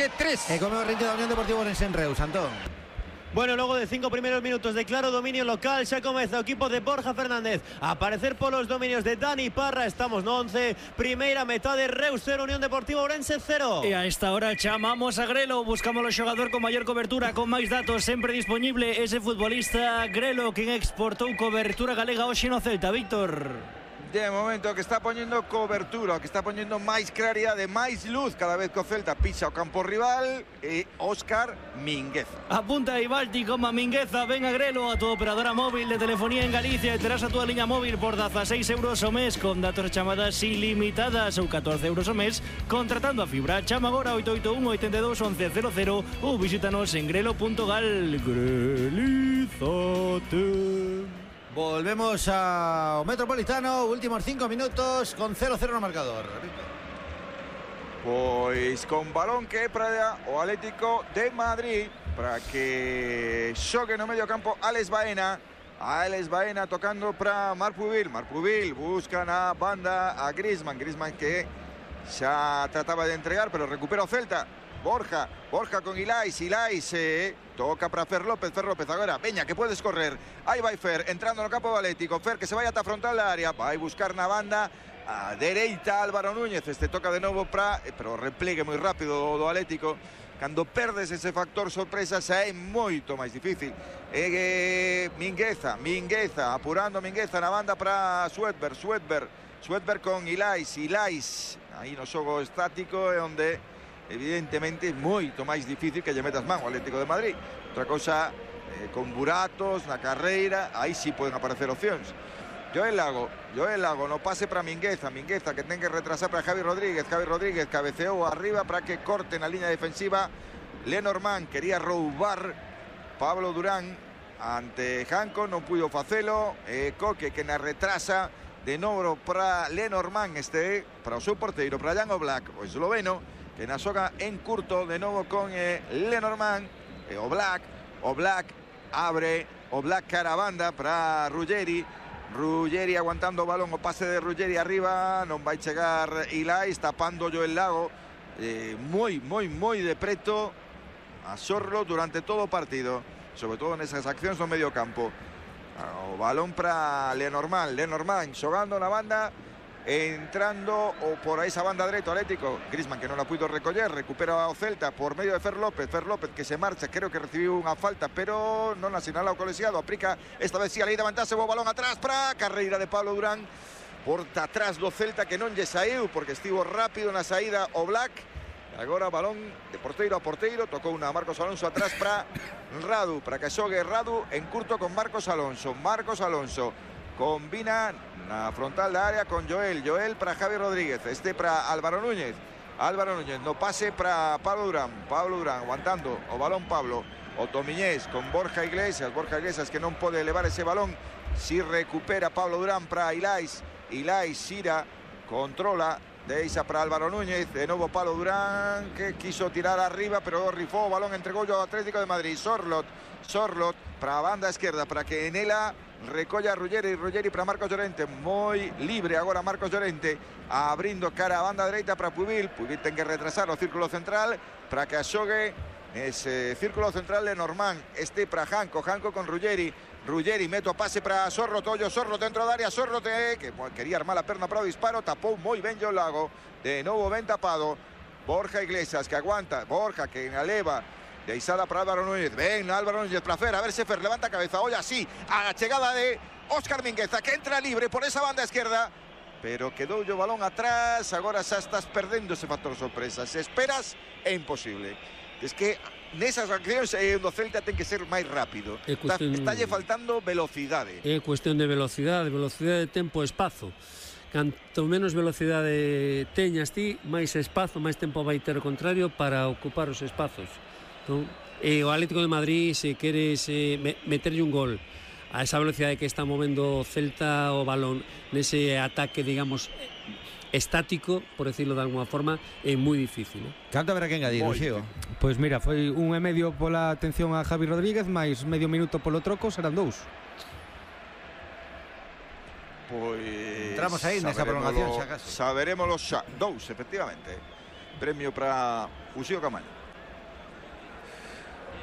Orense 3. E como rinde da Unión Deportiva Orense en Reus, Antón. Bueno, logo de 5 primeiros minutos de claro dominio local, xa comeza o equipo de Borja Fernández a aparecer polos dominios de Dani Parra. Estamos no 11, primeira metade, Reus 0, Unión Deportiva Ourense 0. E a esta hora chamamos a Grelo, buscamos o xogador con maior cobertura, con máis datos, sempre disponible ese futbolista Grelo, quen exportou cobertura galega hoxe no Celta, Víctor. De momento que está poñendo cobertura, que está poñendo máis claridade, máis luz cada vez que o Celta pisa o campo rival, e Óscar Mingueza. Apunta aí Balti como a Mingueza, ven a Grelo, a tu operadora móvil de telefonía en Galicia, e terás a tua liña móvil por 16 euros ao mes con datos e chamadas ilimitadas ou 14 euros ao mes contratando a fibra. Chama agora 881 82 11 00 ou visítanos en grelo.gal. Grelízate. Volvemos ao Metropolitano, últimos 5 minutos con 0-0 no marcador. Pois con balón que é para o Atlético de Madrid, para que xogue no medio campo Alex Baena. Alex Baena tocando para Marc Pubil. Marc Pubil busca na banda a Griezmann. Griezmann que xa trataba de entregar, pero recupera o Celta. Borja con Ilais toca para Fer López agora, veña que puedes correr, aí vai Fer, entrando no campo do Atlético, Fer que se vai ata a frontal da área, vai buscar na banda a dereita Álvaro Núñez, toca de novo para, pero replegue moi rápido do Atlético, cando perdes ese factor sorpresa xa é moito máis difícil. Mingueza, apurando Mingueza na banda para Sweatberg con Ilais, aí no xogo estático é onde evidentemente é moito máis difícil que lle metas man ao Atlético de Madrid. Outra cousa, con buratos na carreira, aí sí poden aparecer opcións. Joel Lago no pase para Mingueza que ten que retrasar para Javi Rodríguez cabeceou arriba para que corte na liña defensiva. Lenormand quería roubar Pablo Durán ante Janko, non puido facelo. Coque que na retrasa de novo para Lenormand, para o seu porteiro, para Jan Oblak, o esloveno, que na xoga en curto de novo con Lenormand. Oblak abre, Oblak cara a banda para Ruggeri aguantando o balón, o pase de Ruggeri arriba, non vai chegar Ilais, tapando Joel Lago moi de preto a Sorlo durante todo o partido, sobre todo nesas accións no medio campo. O balón para Lenormand xogando na banda, entrando o por esa banda dereita Atlético. Griezmann que non la puido recoller, recupera o Celta por medio de Fer López que se marcha, creo que recibiu unha falta pero non asinala o colexiado, aplica esta vez si a lei de vantaxe, o balón atrás para carreira de Pablo Durán, porta atrás do Celta que non lle saiu porque estivo rápido na saída o Black. Agora balón de porteiro a porteiro, tocou unha Marcos Alonso atrás para Radu, para que xogue Radu en curto con Marcos Alonso combina na frontal da área con Joel para Javi Rodríguez, para Álvaro Núñez no pase para Pablo Durán aguantando o balón Pablo, o Tomiñés con Borja Iglesias que non pode elevar ese balón, si recupera Pablo Durán para Ilais xira, controla, deixa para Álvaro Núñez, de novo Pablo Durán que quiso tirar arriba pero rifou o balón, entregou ao Atlético de Madrid. Sorlot para a banda esquerda para que en ela recolla Ruggeri para Marcos Llorente, moi libre agora Marcos Llorente, abrindo cara a banda dereita para Pubil ten que retrasar o círculo central para que xogue ese círculo central de Lenormand, para Janko con Ruggeri mete o pase para Sorlot dentro da área, que quería armar a perna para o disparo, tapou moi ben Joel Lago, de novo ben tapado Borja Iglesias que aguanta, Borja que eleva deixada para Álvaro Núñez, ven Álvaro Núñez para Fer, a ver se Fer levanta a cabeza, olla así, a la chegada de Óscar Mingueza que entra libre por esa banda esquerda, pero quedou o balón atrás, agora xa estás perdendo ese factor sorpresa, se esperas é imposible. Es que nesas accións o Celta ten que ser máis rápido, estálle faltando velocidade. É cuestión de velocidade de tempo e espazo. Canto menos velocidade teñas ti, máis espazo, máis tempo vai ter o contrario para ocupar os espazos. Entón, o Atlético de Madrid, se queres meterlle un gol a esa velocidade que está movendo o Celta o balón nese ataque, digamos, estático, por decirlo de alguna forma, é moi difícil. Canto haberá que engadir, Xigo? Pois mira, foi 1,5 pola atención a Javi Rodríguez, máis medio minuto polo troco, serán 2. Pois entramos aí nesa prolongación xa casi. Saberémoslo xa, 2, efectivamente. Premio para Uxío Camaño.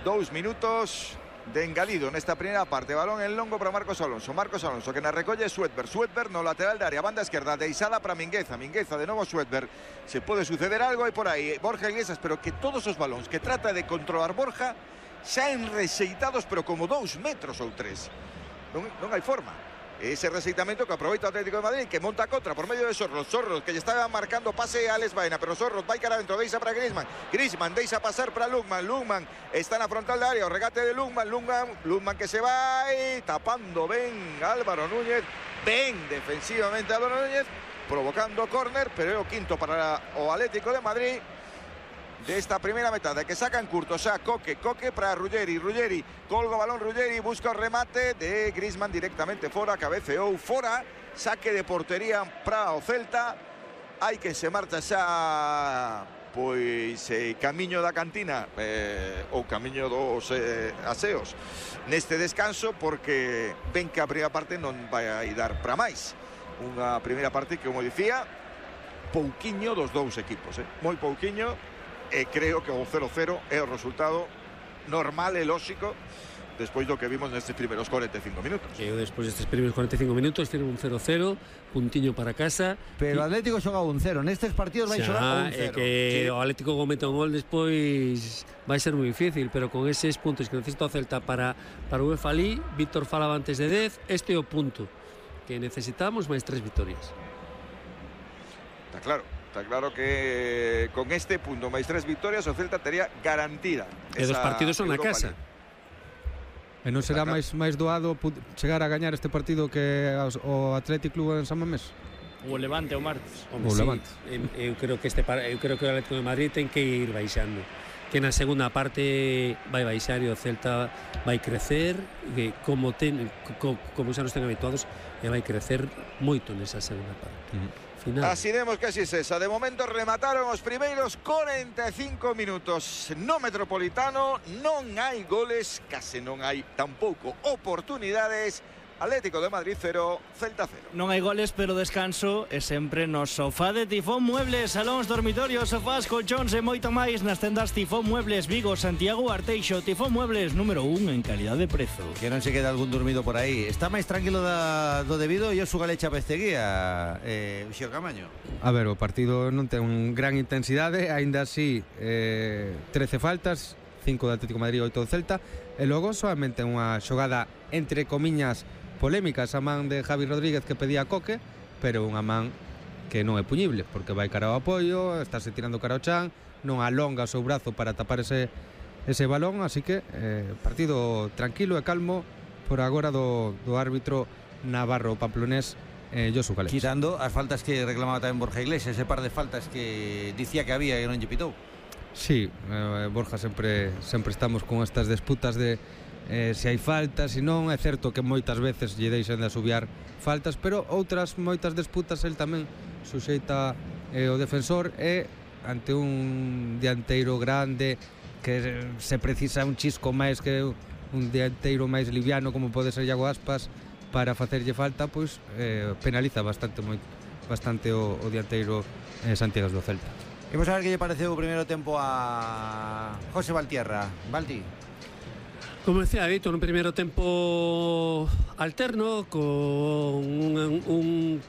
2 minutos de engalido nesta primeira parte. Balón en longo para Marcos Alonso que na recolle Swedberg no lateral de área, banda esquerda deixada para Mingueza de novo Swedberg. Se pode suceder algo e por aí Borja Iglesias, pero que todos os balóns que trata de controlar Borja xa enrexeitados, pero como 2 metros ou 3. Non hai forma. Ese rexeitamento que aproveita o Atlético de Madrid, que monta contra por medio de Sorros, que lle estaba marcando pase a Alex Baena, pero Sorros vai cara dentro, deixa para Griezmann deixa pasar para Lukman está na frontal da área, o regate de Lukman que se vai tapando ben Álvaro Núñez, ben defensivamente Álvaro Núñez, provocando córner, pero é o quinto para o Atlético de Madrid desta primeira metade, que sacan curto xa Coque para Ruggeri colga o balón, Ruggeri busca o remate de Griezmann directamente fora, cabeceou fora, saque de portería para o Celta. Hai que se marcha xa pois camiño da cantina ou camiño dos aseos neste descanso, porque ven que a primeira parte non vai a dar para máis. Unha primeira parte que, como dicía, pouquiño dos dous equipos, moi pouquiño. E creo que o 0-0 é o resultado normal e lóxico despois do que vimos nestes primeiros 45 minutos. Eu despois destes primeiros 45 minutos tiene un 0-0, puntiño para casa. Pero o Atlético xoga un 0, nestes partidos vai xogar un 0. Que o Atlético cometa un gol despois vai ser moi difícil, pero con eses puntos que necesita o Celta para o UEFA League, Víctor falaba antes de 10, este é o punto que necesitamos, máis 3 vitorias. Está claro que con este punto máis 3 victorias o Celta tería garantida. E dos partidos son na casa. E non será máis doado chegar a gañar este partido que o Athletic Club en San Mamés? O Levante o martes. O Levante. Eu creo que o Atlético de Madrid ten que ir baixando. Que na segunda parte vai baixar e o Celta vai crecer, como xa nos ten habituados, e vai crecer moito nesa segunda parte. Final. Así vemos que así es esa. De momento remataron os primeiros 45 minutos no Metropolitano. Non hai goles, case non hai tampouco oportunidades. Atlético de Madrid 0, Celta 0. Non hai goles, pero descanso é sempre no sofá de Tifón Muebles. Salóns, dormitorios, sofás, colchóns e moito máis nas tendas Tifón Muebles Vigo, Santiago, Arteixo. Tifón Muebles, número 1 en calidad de prezo. Que non se queda algún dormido por aí. Está máis tranquilo do debido e o su Galecha Pesteguía, Uxío Camaño. A ver, o partido non ten un gran intensidade, aínda así 13 faltas, 5 do Atlético de Madrid, 8 do Celta, e logo solamente unha xogada entre comiñas polémica, esa man de Javi Rodríguez que pedía a Coque, pero unha man que non é puñible, porque vai cara ao apoio, estáse tirando cara ao chan, non alonga o seu brazo para tapar ese balón, así que partido tranquilo e calmo por agora do árbitro navarro pamplonés Josu Galecha. Quitando as faltas que reclamaba tamén Borja Iglesias, ese par de faltas que dicía que había e non lle pitou. Sí, Borja sempre estamos con estas disputas de se hai faltas, se non. É certo que moitas veces lle deixan de asubiar faltas, pero outras moitas disputas el tamén suxeita o defensor, e ante un dianteiro grande que se precisa un chisco máis que un dianteiro máis liviano como pode ser Iago Aspas para facerlle falta, pois penaliza bastante o dianteiro Santiago do Celta. Imos a ver que lle pareceu o primeiro tempo a José Valtierra. Valti. Como decía Víctor, un primeiro tempo alterno con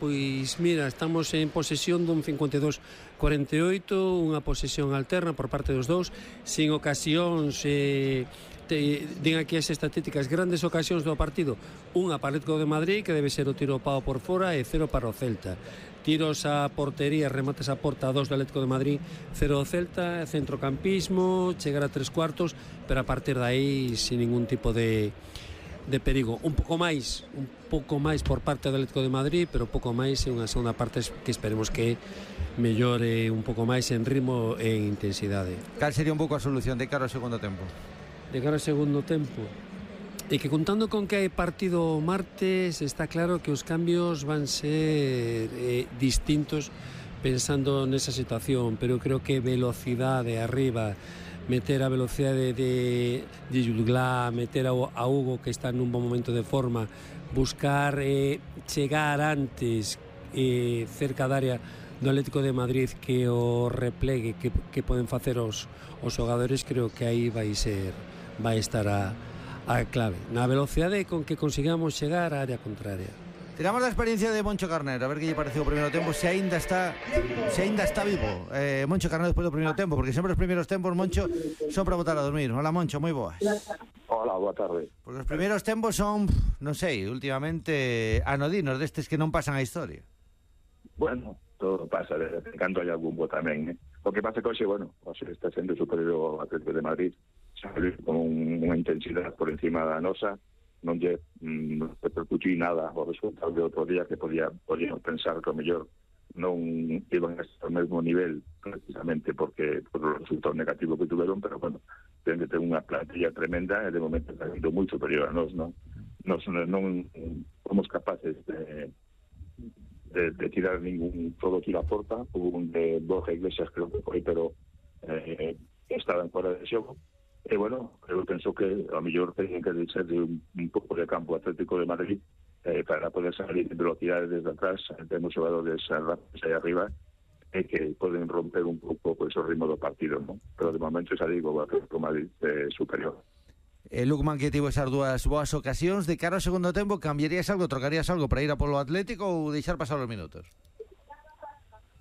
pois mira, estamos en posesión dun 52-48, unha posesión alterna por parte dos dous, sin ocasións. Din aquí as estatísticas, grandes ocasións do partido, unha para o Atlético de Madrid, que debe ser o tiro pao por fora, e 0 para o Celta. Tiros a portería, remates a porta, 2 do Atlético de Madrid, 0 do Celta, centrocampismo, chegar a 3/4, pero a partir de aí sin ningún tipo de perigo. Un pouco máis por parte do Atlético de Madrid, pero pouco máis en unha segunda parte que esperemos que mellore un pouco máis en ritmo e en intensidade. Cal sería un pouco a solución de cara ao segundo tempo? De cara ao segundo tempo, e que contando con que hai partido martes, está claro que os cambios van ser distintos pensando nesa situación, pero creo que velocidade arriba, meter a velocidade de Yulglá, meter a Hugo, que está nun bon momento de forma, buscar chegar antes cerca da área do Atlético de Madrid, que o replegue que poden facer os xogadores, creo que aí vai ser vai estar a clave. Na velocidade con que consigamos chegar á área contraria. Tiramos la experiencia de Moncho Carnero, a ver qué le pareció el primer tiempo, si ainda está vivo Moncho Carnero después del primer tiempo, porque siempre los primeros tiempos, Moncho, son para botar a dormir. Hola, Moncho, muy boas. Hola, boa tarde. Porque los primeros tiempos son, non sei, últimamente anodinos, destes que non pasan a historia. Bueno, todo pasa, de vez en cando hai algún bo tamén, O que pasa que hoxe, hoxe está sendo superior ao Atlético de Madrid, saliu con unha intensidade por encima da nosa, non lle repercutiu nada o resultado de outro día que podíamos pensar que o mellor non iban a estar ao mesmo nivel precisamente porque por o resultado negativo que tuveron, pero ten que ter unha plantilla tremenda e de momento está sendo moi superior a nós, non somos capaces de tirar ningún todo tiro a porta. Hubo un de Borja Iglesias, creo que foi, pero estaban fora de xogo. E eu penso que a mellor teñen que deixar de un pouco de campo Atlético de Madrid para poder salir de velocidade desde atrás. Temos xogadores rápidos aí arriba que poden romper un pouco o ritmo do partido, non? Pero de momento xa digo, o Atlético de Madrid é superior. Lukman, que tivo esas dúas boas ocasións, de cara ao segundo tempo, cambiarías algo, trocarías algo para ir a polo Atlético ou deixar pasar os minutos?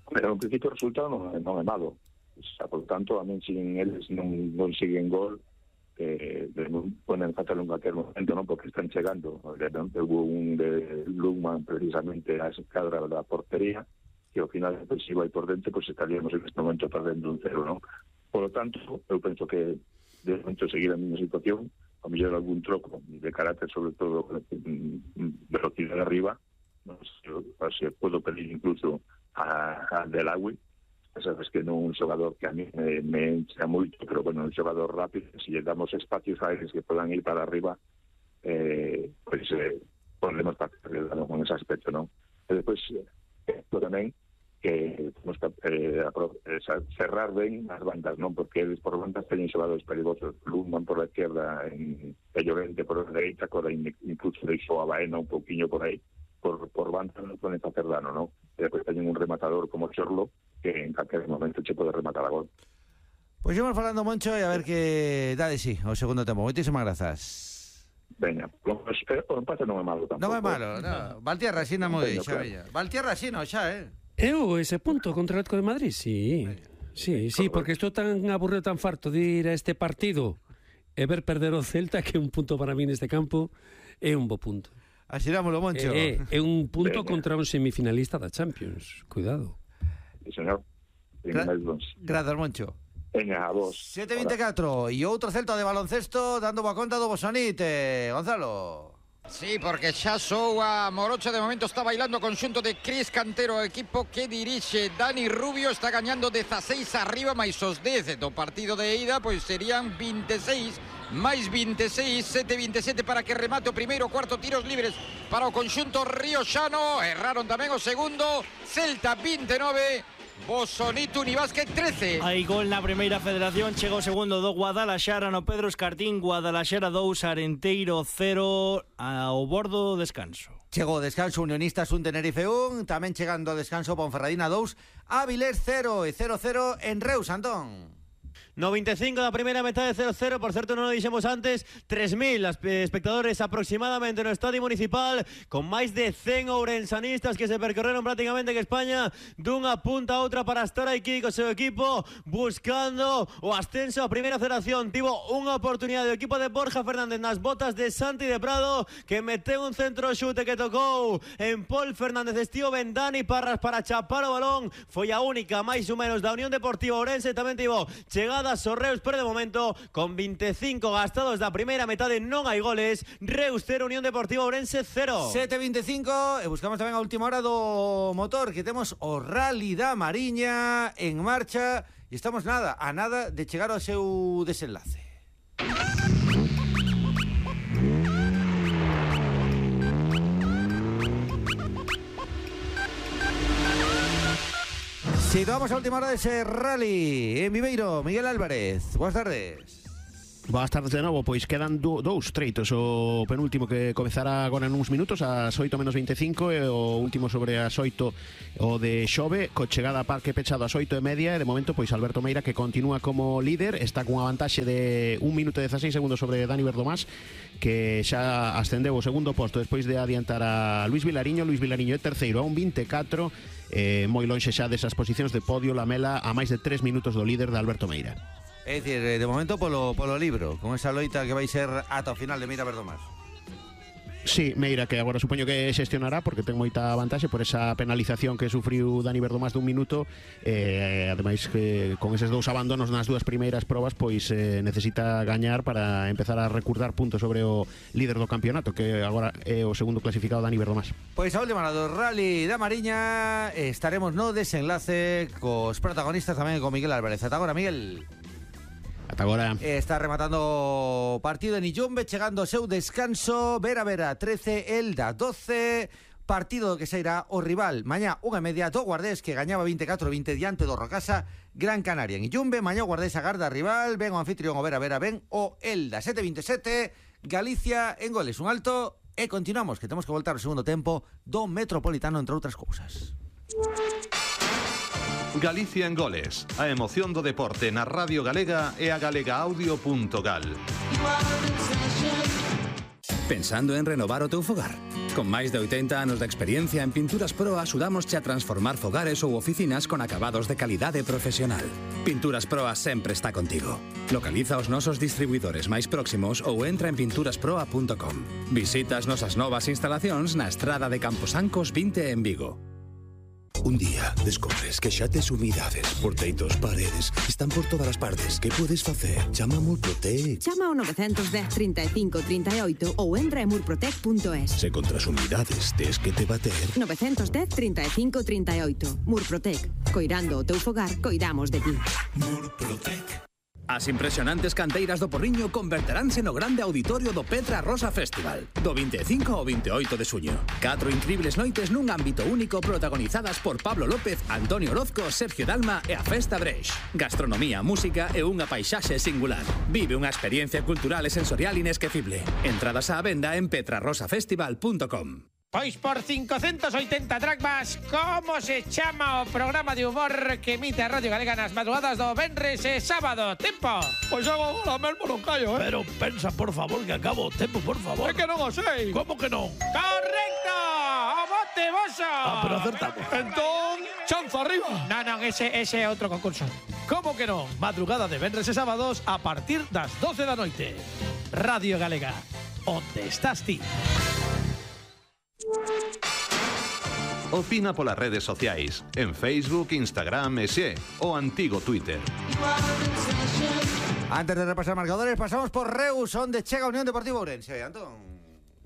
Pero en principio o resultado non é malo. Por tanto, a min sin eles non siguen gol, ponen fatal en cualquier momento, non? Porque están chegando. Hubo un de Lukman precisamente a escadra da portería, que ao final defensivo aí por dentro, estaríamos en este momento perdendo un 0, non? Por lo tanto, eu penso que de momento seguir a mesma situación, a mellor algún troco de carácter, sobre todo velocidade arriba, se puedo pedir incluso a Delagüe. Sabes que non un xogador que a mí me encha moito, pero un xogador rápido, se lle damos espacios a eles que podan ir para arriba, podemos partir con ese aspecto, non? E depois, tamén, que temos que cerrar ben as bandas, non? Porque eles por bandas teñen xogadores perigosos. Lundman por a izquierda, Llorente por a dereita, incluso deixou a Baena un pouquiño por aí. Por banda non poden facer dano, non? E depois teñen un rematador como Chorlo, que en calquer momento che pode rematar a gol. Pois íbamos falando, Moncho, e a ver que dá de sí o segundo tempo. Moitísimas grazas. Veña, o empate non é malo tampouco. Non é malo, non. Valtierra asina moi xa, veña. Valtierra asina xa, Ese punto contra o Atlético de Madrid, sí, porque estou tan aburrido, tan farto de ir a este partido e ver perder o Celta que un punto para mí neste campo é un bo punto. Asirámoslo, Moncho. É un punto contra un semifinalista da Champions. Cuidado. Sí, señor. Grazas, Moncho. Veña, a vos. 7:24 e outro Celta de baloncesto dando boa conta do Bosonite. Gonzalo. Sí, porque xa soa Morocha, de momento está bailando conxunto de Cris Cantero, equipo que dirixe Dani Rubio, está gañando 16 arriba, máis os 10 do partido de ida, pois serían 26 máis 26, 7-27 para que remate o primeiro, cuarto, tiros libres para o conxunto rioxano, erraron tamén o segundo, Celta 29, Bosonito Unibásquet 13. Hai gol na primeira federación, chega o segundo do Guadalaxara no Pedro Escartín, Guadalaxara 2, Arenteiro 0, ao bordo descanso. Chegou o descanso Unionistas 1, Tenerife 1, tamén chegando o descanso Ponferradina 2, Avilés 0 e 0-0 en Reus, Antón. 95 da primeira metade, 0-0, por certo non o dixemos antes, 3.000 espectadores aproximadamente no Estadio Municipal, con máis de 100 ourensanistas que se percorreron prácticamente que España dunha punta a outra para estar aquí co seu equipo, buscando o ascenso a primeira federación. Tivo unha oportunidade o equipo de Borja Fernández nas botas de Santi de Prado, que meteu un centro xute que tocou en Pol Fernández, estivo ben Dani Parras para chapar o balón, foi a única máis ou menos da Unión Deportiva Ourense, tamén tivo chegada Reus, pero de momento con 25 gastados da primeira metade non hai goles. Reus 0, Unión Deportiva Ourense 0. 7:25 e buscamos tamén a última hora do motor, que temos o Rally da Mariña en marcha e estamos a nada de chegar ao seu desenlace. Situamos a última hora de ese rally en Viveiro. Miguel Álvarez, buenas tardes. Boas tardes de novo, pois quedan dous treitos. O penúltimo que comezará agora en uns minutos ás 8:25 e o último sobre as 8 o de Xove, co chegada a parque pechado ás 8:30 e de momento pois Alberto Meira, que continúa como líder, está cunha vantaxe de 1 minuto e 16 segundos sobre Dani Verdomás, que xa ascendeu ao segundo posto despois de adiantar a Luis Vilariño é terceiro a 1:24, moi lonxe xa desas posicións de podio. Lamela a máis de 3 minutos do líder de Alberto Meira. É dicir, de momento polo libro, con esa loita que vai ser ata o final de Meira Verdomás. Sí, Meira, que agora supoño que xestionará porque ten moita vantaxe por esa penalización que sufriu Dani Verdomás de 1 minuto, ademais que con eses dous abandonos nas dúas primeiras probas pois necesita gañar para empezar a recurdar puntos sobre o líder do campeonato, que agora é o segundo clasificado Dani Verdomás. Pois a última do Rally da Mariña, estaremos no desenlace cos protagonistas tamén con Miguel Álvarez. Ata agora, Miguel. Ata agora. Está rematando o partido en Illumbe, chegando ao seu descanso. Vera 13, Elda 12. Partido que sairá o rival mañá 1:30 do Guardés, que gañaba 24-20 diante do Rocasa Gran Canaria en Illumbe. Mañá o Guardés agarda rival, ven o anfitrión o Vera, ven o Elda. 7:27, Galicia en goles un alto. E continuamos, que temos que voltar ao segundo tempo do Metropolitano, entre outras cousas. Galicia en goles, a emoción do deporte na Radio Galega e a galegaaudio.gal. Pensando en renovar o teu fogar? Con máis de 80 anos de experiencia en Pinturas Pro axudámosche a transformar fogares ou oficinas con acabados de calidade profesional. Pinturas Pro sempre está contigo. Localiza os nosos distribuidores máis próximos ou entra en pinturasproa.com. Visita as nosas novas instalacións na Estrada de Camposancos 20 en Vigo. Un día descobres que xa tes humidades por teitos, paredes, están por todas as partes. Que podes facer? Chama a Murprotec. Chama ao 910 35 38 ou entra en murprotec.es. Se contra as humidades tes que te bater. 910 35 38. Murprotec. Coirando o teu fogar, coidamos de ti. Murprotec. As impresionantes canteiras do Porriño converteránse no grande auditorio do Petra Rosa Festival, do 25 ao 28 de suño. 4 incribles noites nun ámbito único protagonizadas por Pablo López, Antonio Orozco, Sergio Dalma e a Festa Breix. Gastronomía, música e unha paisaxe singular. Vive unha experiencia cultural e sensorial inesquecible. Entradas á venda en petrarrosafestival.com. Pois por 580 dracmas, como se chama o programa de humor que emite a Radio Galega nas madrugadas do venres e sábado? Tempo! Pois agora mesmo non callo, Pero pensa, por favor, que acabo o tempo, por favor. É que non o sei. Como que non? ¡Correcto! ¡O bote boso! Pero acertamos. Entón, chanza arriba. Non, ese é outro concurso. Como que non? Madrugada de venres e sábados a partir das 12 da noite. Radio Galega, onde estás ti? Opina polas redes sociais, en Facebook, Instagram e xe, o antigo Twitter. Antes de repasar marcadores, pasamos por Reus, onde chega a Unión Deportiva Ourense. Antón.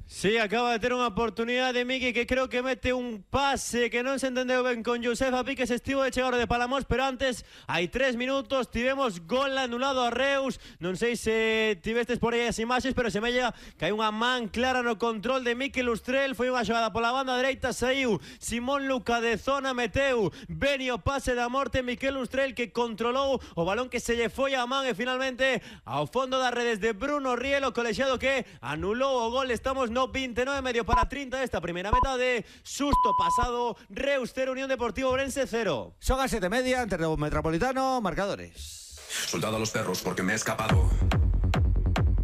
Sí, acaba de ter unha oportunidade de Miki, que creo que mete un pase que non se entendeu ben con Josefa Piques, estivo de chegar de Palamos, pero antes, hai 3 minutos, tivemos gol anulado a Reus. Non sei se tivestes por aí as imaxes, pero se me llega que hai unha man clara no control de Mikel Ustrel. Foi unha xogada pola banda dereita, saiu Simón Luca de zona, meteu Beni o pase da morte, Mikel Ustrel que controlou o balón que se lle foi a man e finalmente ao fondo das redes de Bruno Rielo, colexiado que anulou o gol. Estamos no 29 para 30 desta primeira metade. Susto pasado, Reus 0, Unión Deportiva Ourense 0. Son as 7:30, ante o Metropolitano, marcadores. Soldado a los perros porque me he escapado.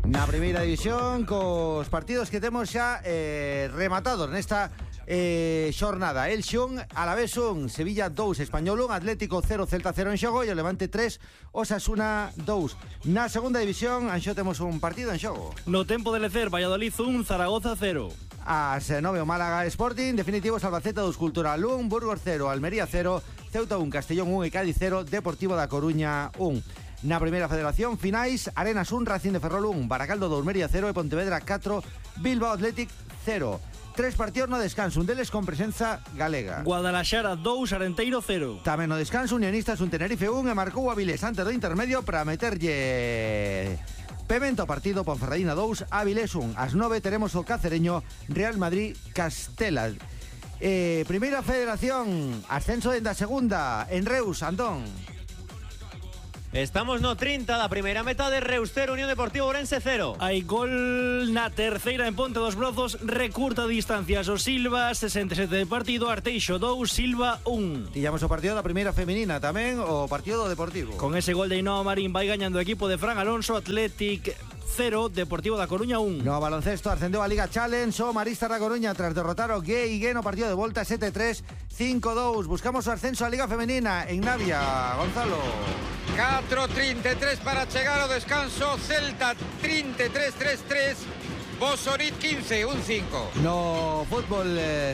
Na primeira división, cos partidos que temos xa rematados nesta xornada. El Xun, Alavés 1, Sevilla 2, Español 1, Atlético 0, Celta 0 en xogo e o Levante 3, Osasuna 2. Na segunda división, anxo temos un partido en xogo. No tempo de lecer, Valladolid 1, Zaragoza 0. As 9 o Málaga Sporting, definitivos Albacete 2, Cultural 1, Burgos 0, Almería 0, Ceuta 1, Castellón 1 e Cádiz 0, Deportivo da Coruña 1. Na primeira federación, finais, Arenas 1, Racing de Ferrol 1, Baracaldo 2, Almería 0 e Pontevedra 4, Bilbao Athletic 0. 3 partidos no descanso, un deles con presenza galega. Guadalaxara 2, Arenteiro 0. Tamén no descanso, Unionistas 1, Tenerife 1 e marcou a Avilés antes do intermedio para meterlle pemento partido. Ponferradina 2, Avilés 1. Ás 9 teremos o cacereño Real Madrid Castela. Primeira federación, ascenso en da segunda en Reus, Antón. Estamos no 30 da primeira metade, Reus 0, Unión Deportiva Ourense 0. Hai gol na terceira en Ponte dos Brozos, recurta distancias o Silva, 67 de partido, Arteixo 2, Silva 1. Tillamos o partido da primeira femenina tamén, o partido do Deportivo. Con ese gol de Ainhoa Marín vai gañando o equipo de Fran Alonso, Athletic 0, Deportivo da Coruña 1. No baloncesto ascendeu a Liga Challenge o Maristas da Coruña tras derrotar o Gué no partido de volta 7-3, 5-2. Buscamos o ascenso a Liga Femenina en Navia, Gonzalo. 4:33 para chegar ao descanso, Celta 33-3-3, Bosorit 15, 1-5. No fútbol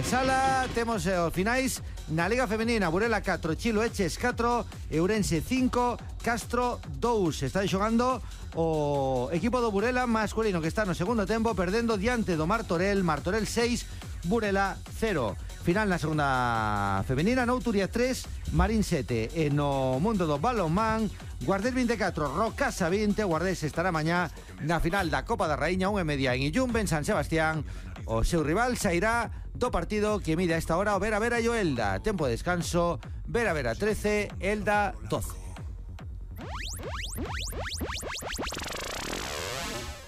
sala temos os finais na Liga Femenina. Burela 4, Chilo Eches 4, Ourense 5, Castro 2. Está xogando o equipo do Burela masculino que está no segundo tempo perdendo diante do Martorell 6, Burela 0. Final na segunda femenina, Nouturia 3, Marín 7. E no mundo do balonmán, Guardés 24, Rocasa 20. Guardés estará mañá na final da Copa da Raíña 1:30 en Illumbe, en San Sebastián. O seu rival sairá do partido que mide a esta hora o Vera Vera e o Elda. Tempo de descanso, Vera Vera 13, Elda 12.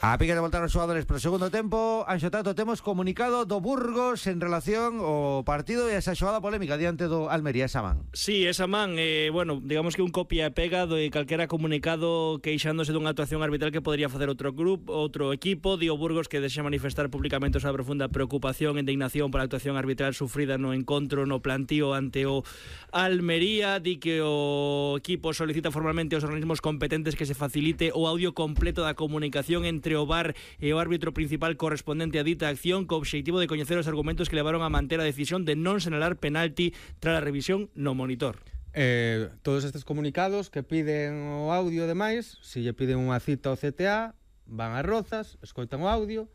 A pique de voltar os xogadores pro segundo tempo. Anxo Tato, temos comunicado do Burgos en relación ao partido e esa xogada polémica diante do Almería, esa man. Sí, esa man, bueno, digamos que un copia e pega de calquera comunicado queixándose dunha actuación arbitral que podría facer outro grupo, outro equipo. Di o Burgos que dexa manifestar públicamente a súa profunda preocupación e indignación pola actuación arbitral sufrida no encontro no plantío ante o Almería. Di que o equipo solicita formalmente aos organismos competentes que se facilite o audio completo da comunicación entre o VAR e o árbitro principal correspondente a dita acción co obxectivo de coñecer os argumentos que levaron a manter a decisión de non señalar penalti tras a revisión no monitor. Todos estes comunicados que piden o audio e demais, se lle piden unha cita ao CTA, van a Rozas, escoitan o audio,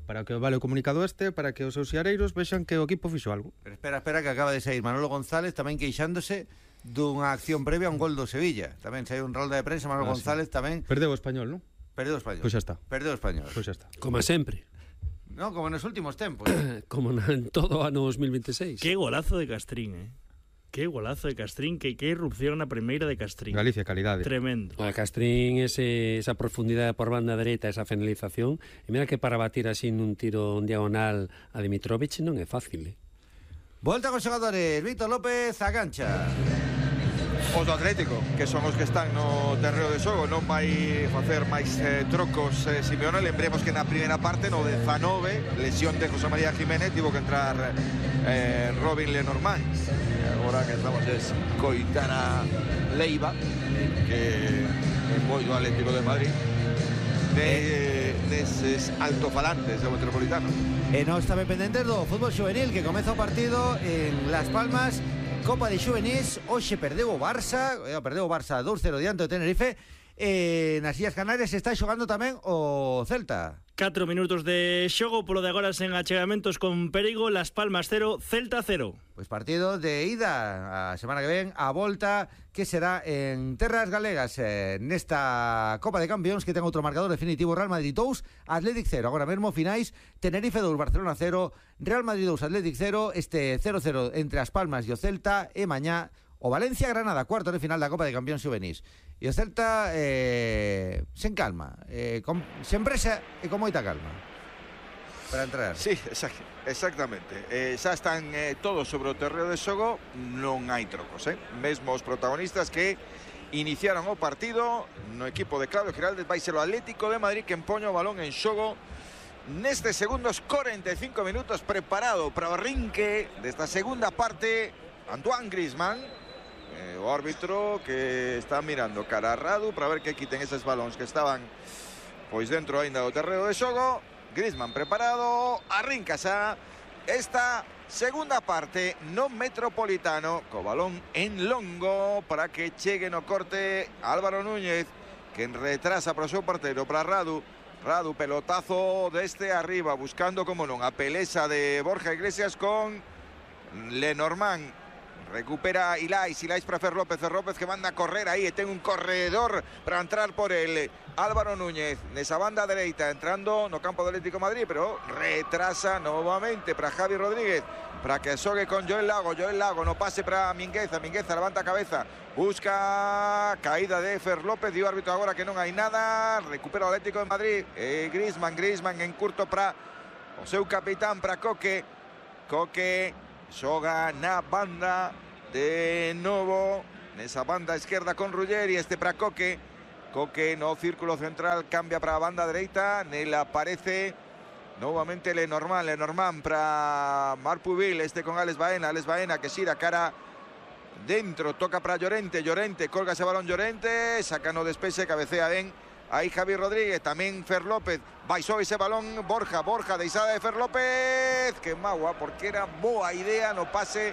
para que vale o comunicado para que os seus xareiros vexan que o equipo fixo algo. Pero espera que acaba de sair Manolo González tamén queixándose dunha acción previa a un gol do Sevilla. Tamén saiu un rolda de prensa, Manolo González tamén. Perdeu o Español, non? Perdeu o Español. Pois xa está. Perdeu o Español. Pois xa está. Como sempre. No, como nos últimos tempos. Como en todo ano 2026. Que golazo de Castrín, Que golazo de Castrín, que irrupción na primeira de Castrín. Galicia, calidade. Tremendo. A Castrín, esa profundidade por banda dereita, esa finalización, e mira que para batir así nun tiro en diagonal a Dimitrovic non é fácil, Volta con xogadores, Víctor López a cancha. Os do Atlético, que son os que están no terreo de xogo, non vai facer máis trocos Simeone. Lembremos que na primeira parte, no 19, lesión de José María Jiménez, tivo que entrar Robin Lenormand. E agora que estamos es coitar a Leiva, que é moi do Atlético de Madrid, deses altofalantes do Metropolitano. E non estaba pendente do fútbol juvenil, que comeza o partido en Las Palmas. Copa de Xuvenis, hoxe perdeu o Barça 2-0 diante do Tenerife. Nas Illas Canarias está xogando tamén o Celta. 4 minutos de xogo, polo de agora sen achegamentos con perigo. Las Palmas 0, Celta 0. Pois partido de ida a semana que ven, a volta que será en terras galegas nesta Copa de Campións, que ten outro marcador definitivo: Real Madrid 2, Athletic 0. Agora mesmo finais: Tenerife 2, Barcelona 0, Real Madrid 2, Athletic 0. Este 0-0 entre as Palmas e o Celta. E mañá o Valencia-Granada, cuarto de final da Copa de Campións Xuvenís. E o Celta sen calma, sen presa e con moita calma para entrar. Sí, exactamente. Xa están todos sobre o terreo de xogo, non hai trocos, mesmo os protagonistas que iniciaron o partido no equipo de Claudio Giraldez. Vai ser o Atlético de Madrid que empoña o balón en xogo nestes segundos 45 minutos, preparado para o arrinque desta segunda parte. Antoine Griezmann, o árbitro, que está mirando cara a Radu para ver que quiten eses balóns que estaban pois dentro aínda do terreo de xogo. Griezmann preparado, arrinca xa esta segunda parte no Metropolitano, co balón en longo para que chegue no corte Álvaro Núñez, que retrasa para o seu parteiro, para Radu. Radu, pelotazo desde arriba, buscando como non a pelesa de Borja Iglesias con Lenormand. recupera Ilais para Fer López que manda a correr aí e ten un corredor para entrar por el Álvaro Núñez nesa banda dereita, entrando no campo do Atlético de Madrid, pero retrasa novamente para Javi Rodríguez, para que xogue con Joel Lago, no pase para Mingueza, levanta a cabeza, busca caída de Fer López, dio árbitro agora que non hai nada, recupera o Atlético de Madrid, Griezmann en curto para o seu capitán, para Coque xoga na banda de novo, nesa banda esquerda con Ruggeri, para Coque no círculo central, cambia para a banda dereita, nela aparece novamente Lenormand para Marc Pubil, con Alex Baena que xira cara dentro, toca para Llorente, colga ese balón Llorente, saca no despexe, cabecea ben aí Javi Rodríguez, tamén Fer López, baixou ese balón Borja, deixada de Fer López, que magua, porque era boa idea no pase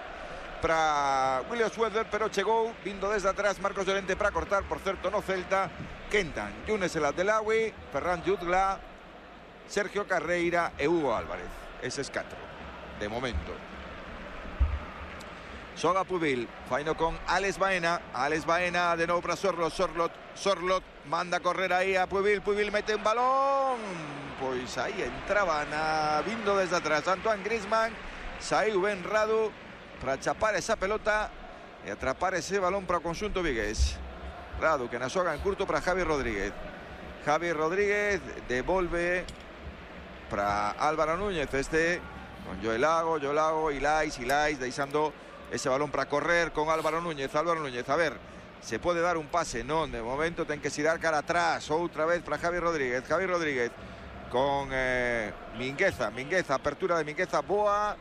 para William Suedler, pero chegou, vindo desde atrás Marcos Llorente para cortar, por certo no Celta, Kentan, Younes El Abdelawi, Ferran Jutgla, Sergio Carreira e Hugo Álvarez, eses 4, de momento. Xoga Pubil, faino con Alex Baena de novo para Sorlot manda a correr aí a Pubil mete un balón, pois aí entraba vindo desde atrás Antoine Griezmann, saiu ben Radu para chapar esa pelota e atrapar ese balón para o conxunto vigués. Radu que na xoga en curto para Javi Rodríguez devolve para Álvaro Núñez, con Joel Lago, Ilais deixando ese balón para correr con Álvaro Núñez, a ver, se puede dar un pase, non, de momento ten que xirar cara atrás, outra vez para Javi Rodríguez con Mingueza, apertura de Mingueza, boa,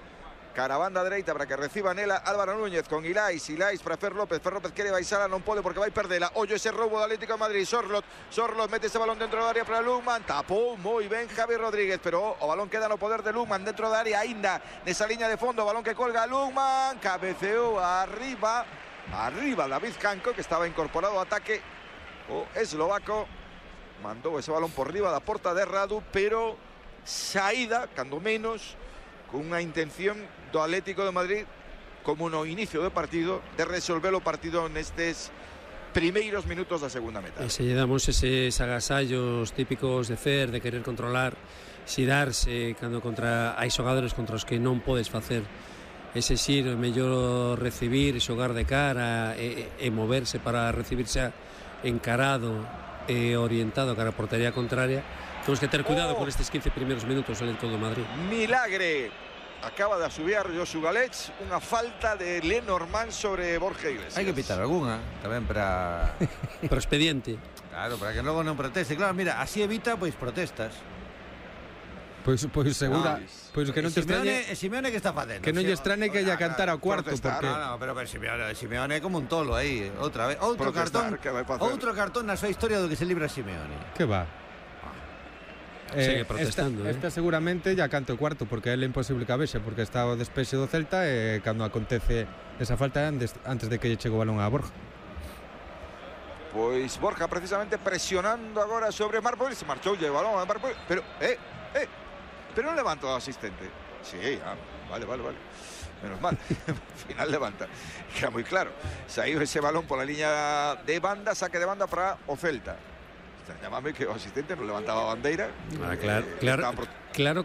cara a banda dereita para que reciba nela Álvaro Núñez con Ilais para Fer López quere baixala, non pode porque vai perdela, ollo ese roubo do Atlético de Madrid, Sorlot mete ese balón dentro do área para Lukman, tapou moi ben Javi Rodríguez, pero o balón queda no poder de Lukman dentro da área aínda, nesa liña de fondo, balón que colga Lukman, cabeceou arriba David Canco, que estaba incorporado ao ataque, o eslovaco mandou ese balón por riba da porta de Radu, pero saída, cando menos, con unha intención do Atlético de Madrid, como no inicio do partido, de resolver o partido nestes primeiros minutos da segunda metade. E se lle damos eses agasallos típicos de Fer, de querer controlar, xirarse, cando hai xogadores contra os que non podes facer ese xiro, é mellor recibir, xogar de cara e moverse para recibirse encarado e orientado cara a portería contraria. Temos que ter cuidado con estes 15 primeiros minutos do Atlético de Madrid. Milagre, acaba de asubiar Josu Galech, unha falta de Lenormand sobre Borja Iglesias. Hai que pitar algunha, tamén para expediente. Claro, para que logo non proteste. Claro, mira, así evita protestas. Pois segura, pois que non te extrañe Simeone que está facendo. Que non lle extrañe que lle cantara ao cuarto, porque pero Simeone é como un tolo aí, outra vez, outro cartón na súa historia do que se libra Simeone. Que va? Sigue protestando. Esta seguramente ya canta o cuarto, porque é imposible que a vexe, porque está o despexe do Celta e cando acontece esa falta antes de que lle chegue o balón a Borja. Pois Borja precisamente presionando agora sobre Marpol, se marchou o balón a Marpol, pero pero non levanta o asistente. Sí, vale. Menos mal, al final levanta. Queda moi claro. Saiu ese balón pola liña de banda, saque de banda para o Celta. Llámame que o asistente non levantaba a bandeira.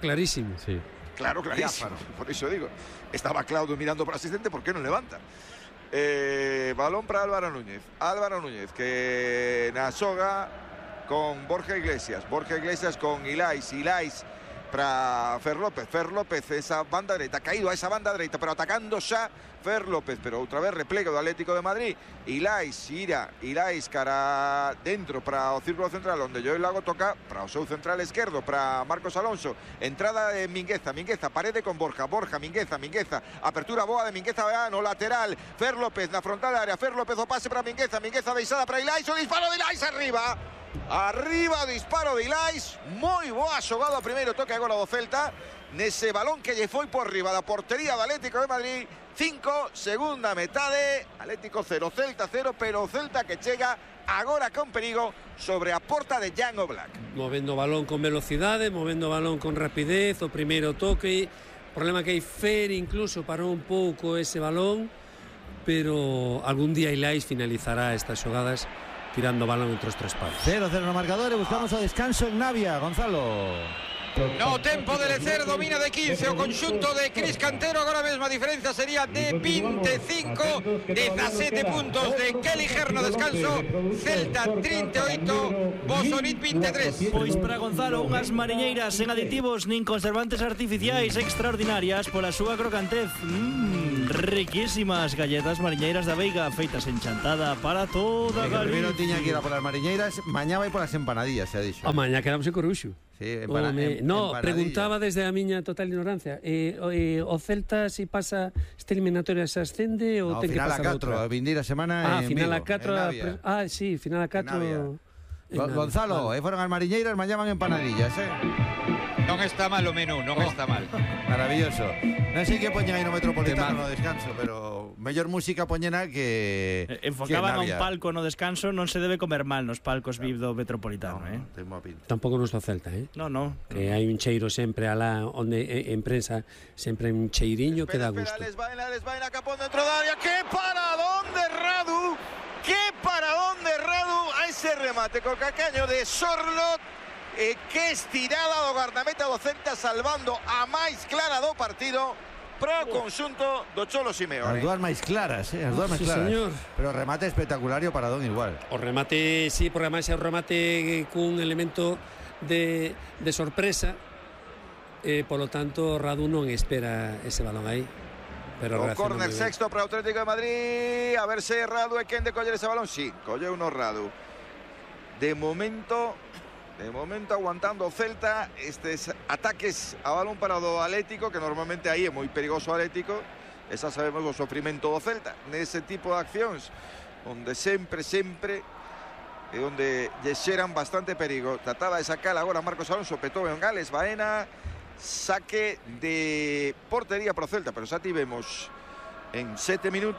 Clarísimo. Sí. Claro, clarísimo. Por iso digo. Estaba Claudio mirando para o asistente, por que non levanta? Balón para Álvaro Núñez, que na xoga con Borja Iglesias con Ilais para Fer López esa banda dereita, caído a esa banda dereita, pero atacando xa Fer López, pero outra vez replego do Atlético de Madrid. Ilais cara dentro para o círculo central, onde Joel Lago toca para o seu central esquerdo, para Marcos Alonso, entrada de Mingueza, parede con Borja, Mingueza, apertura boa de Mingueza no lateral, Fer López na frontal da área, Fer López o pase para Mingueza deixada para Ilais, o disparo de Ilais arriba, disparo de Ilais, moi boa xogada, primeiro toque agora do Celta, nese balón que lle foi por riba da portería do Atlético de Madrid. 5, segunda metade, Atlético 0, Celta 0, pero o Celta que chega agora con perigo sobre a porta de Jan Oblak. Movendo o balón con velocidade, movendo o balón con rapidez, o primeiro toque, problema que hai Fer incluso parou un pouco ese balón, pero algún día Ilais finalizará estas xogadas tirando balón entre os tres palos. 0-0 no marcador e buscamos o descanso en Navia, Gonzalo. No tempo de Lecer, domina de 15 o conxunto de Cris Cantero. Agora mesmo a diferencia sería de 25, 17 puntos de Kelly Gerno. Descanso, Celta 38, Bosonit 23. Pois para Gonzalo, unhas mariñeiras sen aditivos nin conservantes artificiais extraordinarias pola súa crocantez. Riquísimas galletas mariñeiras da Veiga, feitas en Chantada para toda Galicia. Primeiro tiña que ir a polas mariñeiras, mañá vai polas empanadillas, se ha dixo. A mañá quedamos en Coruxo. Sí, no, preguntaba desde a miña total ignorancia. O Celta, si pasa esta eliminatoria, se ascende ou ten que pasar outra? Final a 4, a vindeira semana en final Vigo, a 4. Sí, final a 4. Gonzalo, foron as mariñeiras, mañá van empanadillas, Non está mal o menú, non está mal. Maravilloso. Non sei que poñen aí no Metropolitano no descanso, pero mellor música poñena que enfocaban a un palco no descanso, non se debe comer mal nos palcos VIP do Metropolitano, Tampouco nos do Celta, No. Que hai un cheiro sempre alá onde en prensa sempre hai un cheiriño que dá gusto. Les vaina Capón dentro da área. ¡Qué paradón de Radu! ¡Qué paradón de Radu! A ese remate con cacaño de Sorlot. Que estirada do guardameta do Celta, salvando a máis clara do partido pro conxunto do Cholo Simeone. As dúas máis claras, as dúas máis claras. Señor. Pero remate espectacular e o paradón igual. O remate, sí, porque además é o remate cun elemento de sorpresa, polo tanto Radu non espera ese balón aí. Pero o córner sexto para o Atlético de Madrid. A ver se Radu é quen de coller ese balón. Sí, colleu no Radu. De momento aguantando o Celta estes ataques a balón parado do Atlético, que normalmente aí é moi perigoso o Atlético. Esa sabemos o sofrimento do Celta nese tipo de accións, onde sempre e onde lle xeran bastante perigo. Trataba de sacar agora Marcos Alonso, petou en Gales Baena, saque de portería pro Celta, pero xa tivemos en 7 minutos